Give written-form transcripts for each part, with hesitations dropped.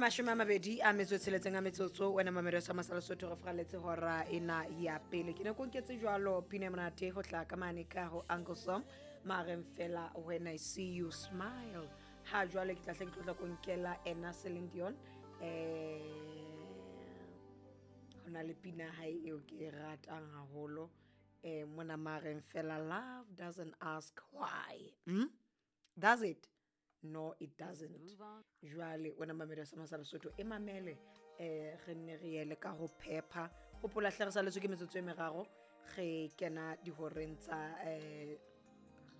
26 a metsotso wena mamelo sa masala sotho re fraletse hora ena ya pele. Ke ne ko nketse jwalo pina e monate ho tla ka mane ka ho Uncle Sam mareng fela "When I See You Smile". Ha jwale ke tla hle ke tlotla ko nkela ena Celine Dion. Ho na le pina hae eo ke e ratang haholo mona mareng fela "Love doesn't ask why". Does it? No, it doesn't. Jwale wena mamelo sa masala sotho e mamele, re nne re yele ka ho phepha. Hopola hle re saletswe ke metsotso e meraro re kena dihoreng tsa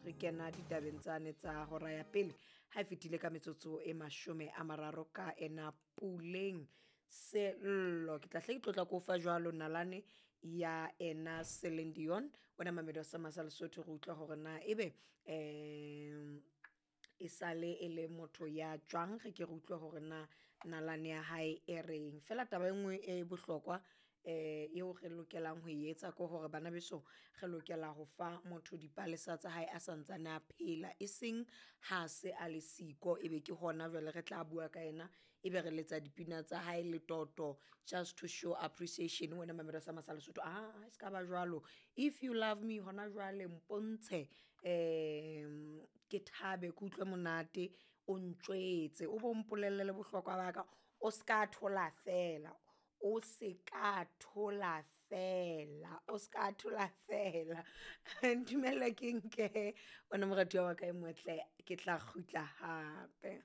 re kena ditabeng tsane tsa hora ya pele ha e fetile ka metsotso e 30 ka ena Puleng Sello. Ke tla hle ke tlotla ko fa jwalo nalane ya ena Celine Dion. Wena mamelo sa masala sotho re utlwa hore na ebe e sale e le motho ya jwang. Re ke re utlwe hore na nalane ya hae e reng. Fela taba e nngwe e bohlokwa eo re lokelang ho e etsa ke hore bana beso re lokela ho fa motho dipalesa tsa hae a santsane a phela, e seng ha se a le siko ebe ke hona jwale re tla bua ka ena, ebe re letsa dipina tsa hae letoto just to show appreciation. Wena mamelo sa masala sotho, ah, e ska ba jwalo. If you love me hona jwale, mpontshe ke thabe, ke utlwe monate, o ntjwetse, o bo mpolelle le bohlokwa ba ka. O ska thola fela, o se ka thola fela, o ska thola fela. Ntumelle ke nke wena moratuwa wa ka e motle, ke tla kgutla hape.